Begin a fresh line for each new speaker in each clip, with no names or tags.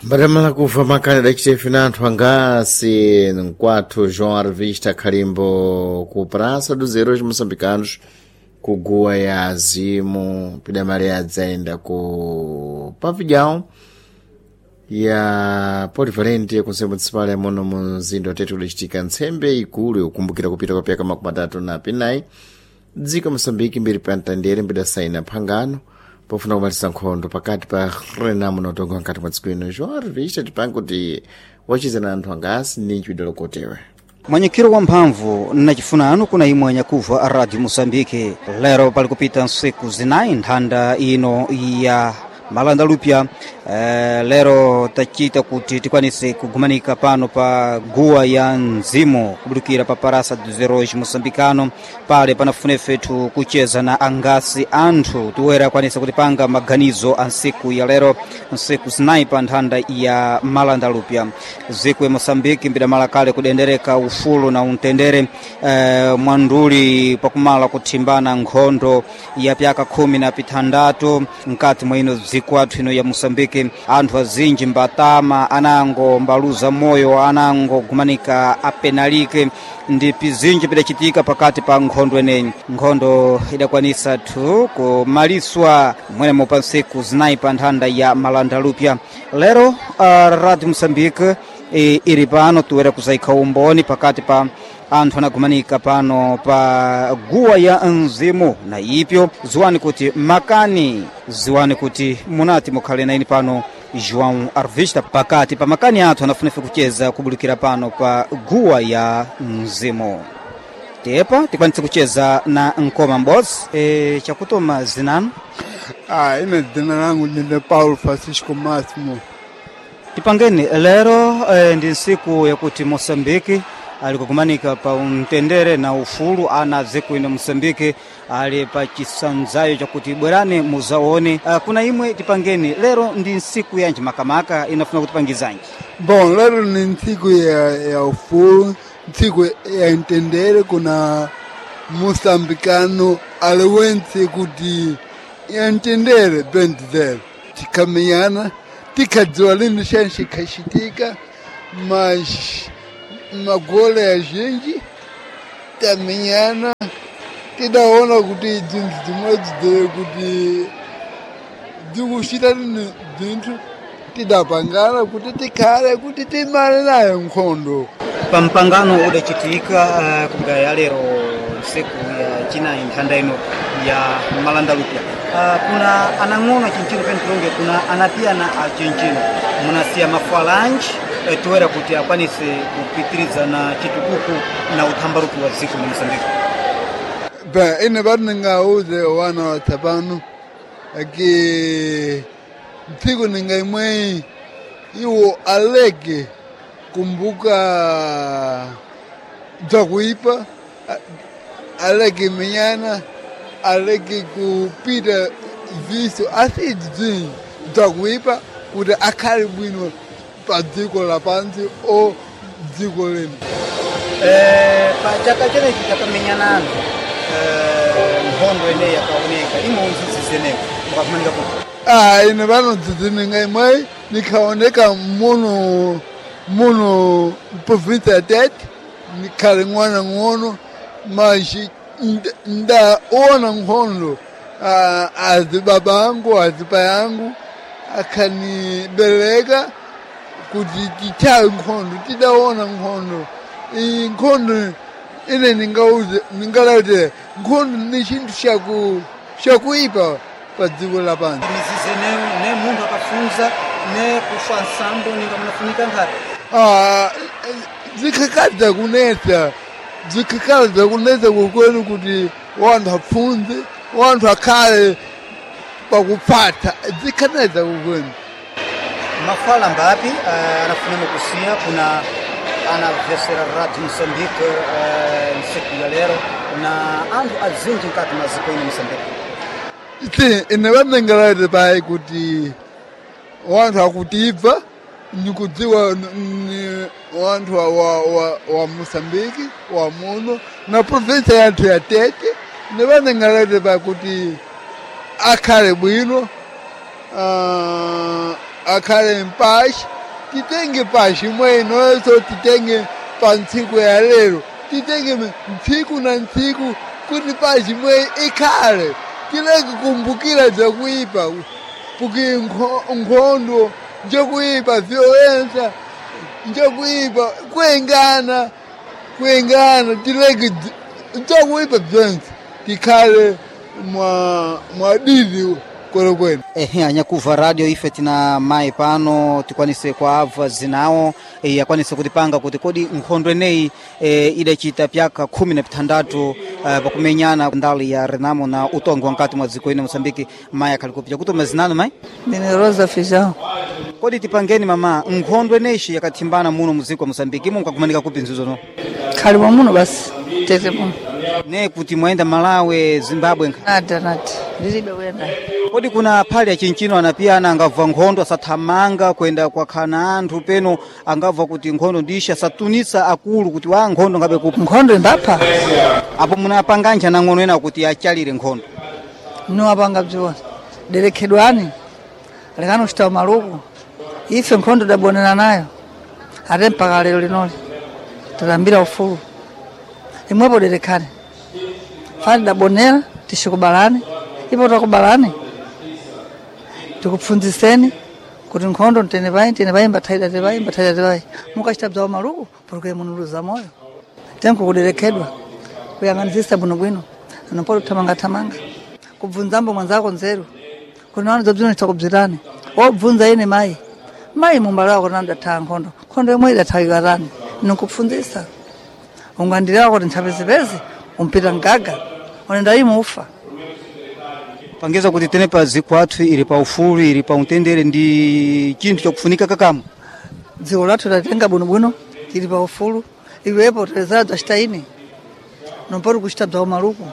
Mbatamala kufa makani adachitefe na anthu angasi mkwathu João Arvista Khalimbo ku Praça dos Heróis Moçambicanos ku guwa ya azimu pidamali adzayenda ku pavilhão ya Polivalente ya Conselho Municipal ya muno mu mzinda wa Tete kudachitika ntsembe ikulu yokumbukira kupita kwa pyaka 34 dziko Moçambique mbiri pa mtandere mbidasaina phangano pofuna kumaliza nkhondo pakati pa Renamo na utongo nkati mwa dziko ino. João Arvista tipange kuti wachizana anthu angasi ndi nchidolokotewe.
Mwanyikiro wa mphamvu nachifunano kuna imwe nyakuva a Radio Moçambique. Lero pali kupita nsiku zinayi nthanda ino ya Malanda Lupya. Lero tachita kuti tikwanise kugumanika pano pa guwa ya mzimu kubudukira pa Praça dos Heróis Moçambicano, pale panafune fetu kucheza na angasi anthu tiwera akwanisa kutipanga maganizo a nsiku ya lero, nsiku zinayi pa nthanda ya Malanda Lupya. Ziku ya Moçambique mbidamala kale kudendereka ufulu na untendere, mwanduli pakumala kuthimbana nkhondo ya pyaka 16 mkati mwa ino dziko athu ino ya Moçambique. Anthu azinji mbatama anango mbaluza moyo, anango gumanika apenalike ndi pizinji pidachitika pakati pa nkhondo eneyi. Nkhondo idakwanisa thu kumaliswa mwenemo pa nsiku zinayi pa nthanda ya Malanda Lupya. Lero Radio Moçambique ili pano tuwera kuzaikha umboni pakati pa anthu anagumanika pano pa guwa ya mzimu na ipyo ziwani kuti makani, ziwani kuti munati mukhale naini pano João Arvista pakati pa makani athu anafunefe kucheza kubulukira pano pa guwa ya mzimu. Tepa tikwanitse kucheza na Nkoma m'bodzi. Chakutoma zinanu?
Ah, ine dzina langu ndine Paulo Francisco Máximo.
Tipangeni lero ndi nsiku yakuti Moçambique ali kugumanika pa umtendere na ufulu ana dziko ino Moçambique ali pa chisanzayo chakuti bwerani muzaone. Kuna imwe tipangeni lero ndi nsiku yanji makamaka inafuna kutipangizanji?
Bom, lero ni ntsiku ya ufulu, ntsiku ya mtendere kuna moçambicano aliwense kuti ya mtendere bem dizer. Tikamenyana, tikadziwa lini xana xikhaxitika, mas magole azhinji tamenyana tidaona kuti dzinthu dzimodzi dzere kuti dzikuchita lini dzinthu tidapangana kuti tikhale kuti timale nayo nkhondo.
Pa mpangano udachitika kubwera ya lero nsiku ya chinayi nthanda ino ya Malanda Lupya, kuna anang'ono achinchino pene tilonge kuna anapiyana achinchino munasiya mafalanji toera kuti akwanise kupitiriza na chitukuko na uthambaruki wa dziko mu Moçambique.
Bem, ine vati ningauze wana wa tsapano ake ntsiku ninga imweyi iwo aleke kumbuka bzakuipa, aleke menyana, aleke kupita viso asi bzinji bzakuipa kuti akhale bwino pa dziko lapansi o dziko lino.
Pa chaka chenechi chakamenyana anthu, nkhondo ineyi yakaoneka imwe unzidzizenewo mukakumanika kuti?
Ah, ine vanodzidzininga imweyi nikhaoneka muno muno província ya Tete, nikhale ng'wana ng'ono, mas ndaona nkhondo, ah, azibaba angu azipai angu akhanibereka kuti tithawe nkhondo, tidaona nkhondo. Iyi nkhondo ine ningauze ningalaute nkhondo ni chinthu chakuipa pa dziko lapansi.
Mizize ne munthu akafunza ne kufa nsambo ninga munafunika nkhati.
Ah, zikhakadza kunetsa, zikhakadza kunetsa kukwenu kuti wanthu apfunze, wanthu akhale pakupfata, zikhanetsa kukwenu.
Mafala mbapi anafunemo kusiya kuna anavesera Radio Moçambique nsiku ya lero na anthu azinji nkati mwa dziko ino Moçambique?
Sim, ine vanengelaite pai kuti wanthu akutibva nikudziwa ni wanthu wa Moçambique wa muno na província yathu ya Tete, ine vanengelaite pai kuti akhale bwino, Akhale mpashi, titenge pashi imweyinonso, titenge pa ntsiku ya lero, titenge ntsiku na ntsiku kuti pashi imweyi ikhale. Tileke kumbukira bzakuipa, porque nkhondo njokuipa, violensa njokuipa, kuengana kuengana, tileke bzakuipa bzonse, tikhale mwa mwadidi kwenekwene.
Ehe, anyakuva radio, ife tina mayi pano, tikwanise kuabva zinawo akwanise kutipanga kuti kodi nkhondo eneyi idachita pyaka 16 pakumenyana ndali ya Renamo na utongo wa nkati mwa dziko ino Mosambiki. Mayi akhali kupita kutuma zinano mayi.
Ndine Rosa Feijão.
Kodi tipangeni mama, nkhondo eneyi yakathimbana muno muziko wa Mosambiki, imwe mkakumanika kupi nzuzo no?
Khali mwa muno basi, tete muno.
Ne kuti mwayenda Malawi, Zimbabwe nkha?
Nada nada, ndilibe kuyenda.
Kodi kuna phali ya chinchino anapiyana angabva nkhondo asathamanga kwenda kwakhana anthu peno, angabva kuti nkhondo ndisha asatunisa akulu kuti wa nkhondo ngabe kupa?
Nkhondo imbapha.
Apo munapanganja nang'ono ena kuti achalire nkhondo?
Niwapanga bziwona. Derekhedwani, lekani kuchita maluku. Ife nkhondo dabonera nayo. Ate mpaka lero linoli. Tatambira ufulu. Imwepo derekhani. Fani dabonera, tishikubalani. Ipo takubalani. Tikupfunziseni kuti nkhondo ntene payi, ntene payi, mbathaida tepayi, mbathaida tepayi. Mukachita bzawo maluku, porque munuluza moyo. Tenku kuderekhedwa. Kuyang'anisisa bwinobwino. Anopoto thamangathamanga. Kubvunzambo mwanzako nzeru. Kuna wanu zabzino nitakubzirani. Wobvunza ine mayi. Mayi mumbalo wako nanda nkhondo. Nkhondo yomwe idathawiwa tani. Nikupfunzisa. Ungandilewa kuti nthapezepeze, umpita mgaga. Unenda imufa.
Pangiza kuti tene pa dziko athu ili pa ufulu, ili pa mtendere, ndi chinthu chakufunika kakamwe.
Dziko lathu tatenga bwinobwino, tili pa ufulu. Iwepo telezera bzachita ine. Nompoti kuchita bzawo maluku.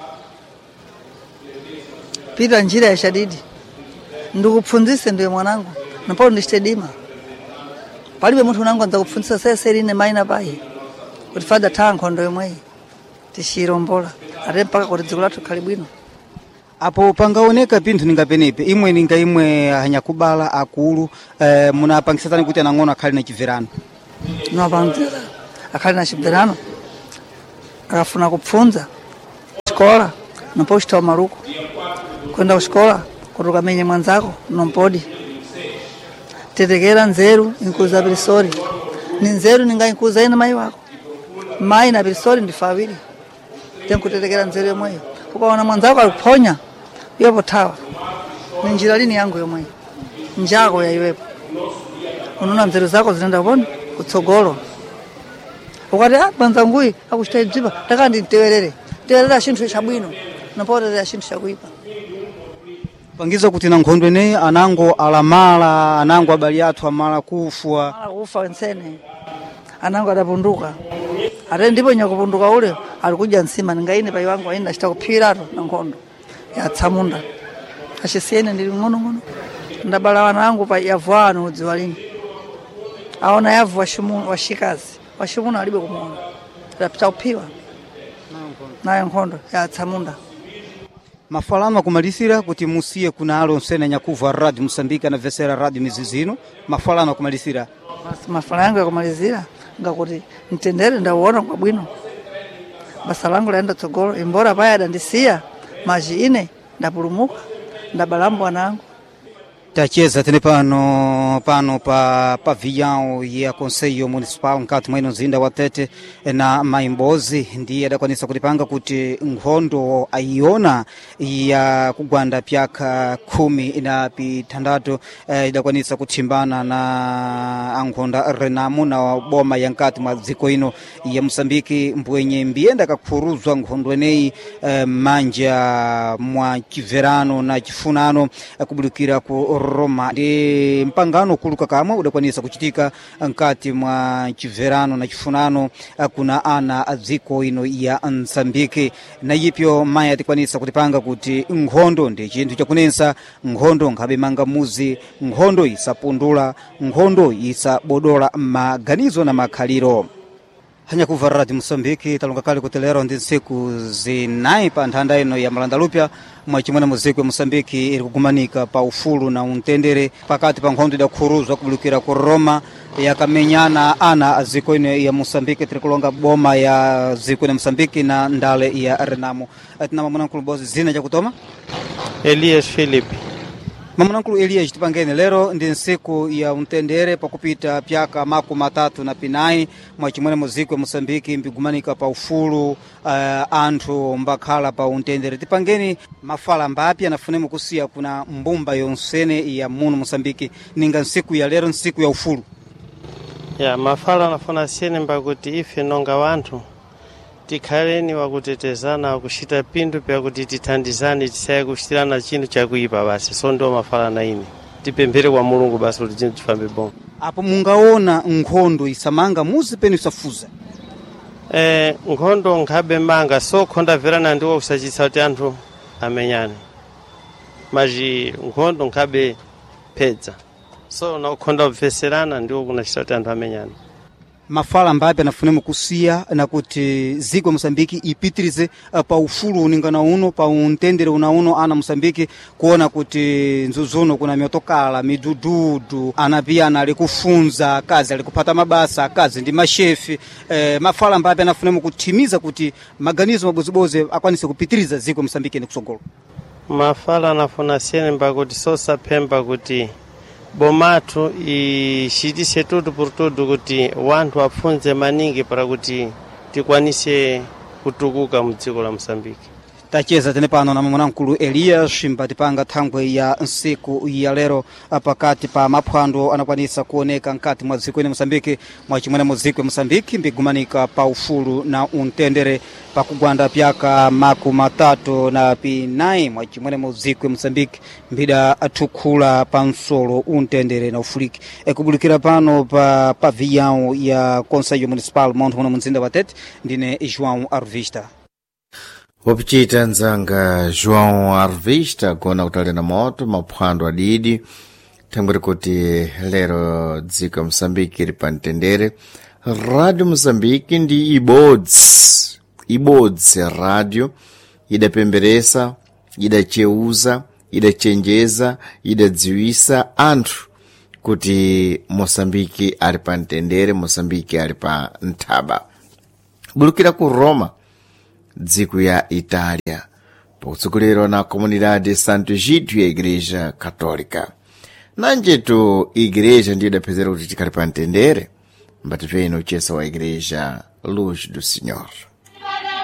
Pita njira ya shadidi. Ndikupfunzise ndiwe mwanangu. Nompoti ndichite dima. Palibe munthu unangu anza kupfunzisa sese ine mayi na payi. Kuti fada thaa nkhondo yomweyi. Tishirombola. Ate mpaka kuti dziko lathu khali bwino.
Apo pangaoneka pinthu ninga penepe, imwe ninga imwe anyakubala akulu munapangisatani kuti anang'ono akhale na chibverano?
Niwapangira akhali na chibverano. Akafuna kupfunza xikola nompo kuchitawa maluku. Kwenda kuxikola kuti ukamenye mwanzako nompodi. Tetekera nzeru inkuza pirisori. Ni nzeru ninga inkuza ine mayi wako. Mayi na pirisori ndife awiri. Tenkutetekera nzeru yomweyo. Ukaona mwanzako aliphonya iwepo thawa. Ni njira lini yangu yomweyo. Njako ya iwepo. Unaona nzeru zako zinaenda kuponi kutsogolo. Ukati ah mwanzanguyi akuchita ibzipa takandi nditewerere. Tewerera chinthu chabwino. Nopoterera chinthu chakuipa.
Pangiza kuti na nkhondo eneyi anango alamala, anango abali athu amala kufwa.
Mala kufa wensene. Anango adapunduka. Ate ndipo nyakupunduka ule alikuja nsima ningaine pai wangu aina achita kuphiratu na nkhondo. Yatsamunda. Achisiyene ndili ng'ono-ng'ono. Ndabala wana angu pa yavu anu udziwa lini. Aona yavu washikazi. Washimuna alibe kumuona. Adapita kuphiwa. Nayo nkhondo yatsamunda.
Mafalano akumalisira kuti musiye kuna alo nsene nyakuva radio Mosambiki anavesera radio mizizino, mafalano akumalisira.
Mafala yangu yakumalizira ngakuti mtendere ndauona kwa bwino. Basa langu laenda tsogolo, imbora paya adandisiya maji ine ndapulumuka, ndabalambo wanangu.
Tacheza tene pano pano pa pavilhão ya Conselho Municipal nkati mweno mzinda wa Tete na Maimbozi, ndiye adakwanisa kutipanga kuti nkhondo ayiona ya kugwanda pyaka 16 idakwanisa kuthimbana na ankhonda Renamo na boma ya nkati mwa dziko ino ya Mosambiki, mbwenye mbiyenda kakhuruzwa nkhondo eneyi manja mwa chibverano na chifunano kubudukira ku Roma. Ndi mpangano kuluka kamwe udakwanisa kuchitika nkati mwa chibverano na chifunano kuna ana a dziko ino ya Msambiki. Na yipyo mayi atikwanisa kutipanga kuti nkhondo ndi chinthu chakunensa, nkhondo nkhabe manga muzi, nkhondo isapundula, nkhondo isabodola maganizo na makhaliro. Hanyakuva Radio Moçambique talonga kale kuti lero ndi ntsiku zinayi pa nthanda ino ya malandalupya mwachimwene muziko ya Moçambique iri kugumanika pa ufulu na untendere pakati pa nkhondo idakhuruzwa kubulukira ku Roma yakamenyana ana a ziko ino ya Moçambique. Tiri kulonga boma ya ziko ino ya Moçambique na ndale ya Renamo. Tina mamunankulu bozi zina chakutoma
Elias Philip.
Mamunankulu Elias, tipangene lero ndi nsiku ya untendere pakupita pyaka 39 mwachimwene muziko ya Moçambique mbigumanika pa ufulu, anthu mbakhala pa untendere. Tipangeni mafala mbapi anafunemo kusiya kuna mbumba yonsene ya muno Moçambique ninga nsiku ya lero, nsiku ya ufulu.
Ya mafala anafuna siyene mbakuti ife nonga wanthu tikhaleni wakutetezana, wakuchita pinthu pyakuti tithandizane, tisaye kuchitirana chinthu chakuipa basi. So ndiwo mafala na ine tipemphere kwa Mulungu basi kuti chinthu chifambe bongo.
Apo mungaona nkhondo isamanga muzi penu isafuza?
Nkhondo nkhabe manga so khondabverana ndiwo kusachitsa kuti anthu amenyane, maji nkhondo nkhabe phedza, so na kukhonda kupveserana ndiwo kunachita kuti anthu amenyane.
Mafala mbapi anafunemo kusiya nakuti ziko ya Moçambique ipitirize pa ufulu uningana uno, pa untendere una uno, ana Moçambique kuona kuti nzuzuno kuna miotokala midududu, ana piyana ali kufunza, akazi ali kuphata mabasa, akazi ndi mashefi. Mafala mbapi anafunemo kuthimiza kuti maganizo mabozibozi akwanise kupitiriza ziko ya Moçambique ene kusogolo?
Mafala anafuna siyene mbakuti sosaphemba kuti bomatu ichitise tutu por tutu kuti wanthu apfunze maningi para kuti tikwanise kutukuka mu dziko la Moçambique.
Tacheza tene pano na mwanamkulu Elias mbatipanga thangwe ya nsiku ya lero pakati pa maphwando anakwanisa kuoneka nkati mwa dziko ine Moçambique mwachimwene mu dziko ya Moçambique mbigumanika pa ufulu na untendere pakugwanda pyaka 34 mwachimwene mu dziko ya Moçambique mbida athukhula pa msolo untendere na ufuliki. Ekubulikira pano pa pavilhão ya Conselho Municipal Monte muno mzinda wa Tete, ndine João Arvista.
Wapichita nzanga João Arvista gona kutalena moto maphwando adidi thangweri kuti lero dziko ya Moçambique iri pa mtendere. Rádio Moçambique ndi ibodzi ibodzi rádio idapemberesa, idacheuza, idachenjeza, idadziwisa anthu kuti Moçambique ali pa mtendere, Moçambique ali pa nthaba. Bulukira ku Roma, dziko ya Itália, pakutsogolerwa na Comunidade Santo Egídio ya Igreja Católica. Nanjetu igreja ndiyo idapezera kuti tikhale pa mtendere, mbatipeni uchesa wa igreja Luz do Senhor.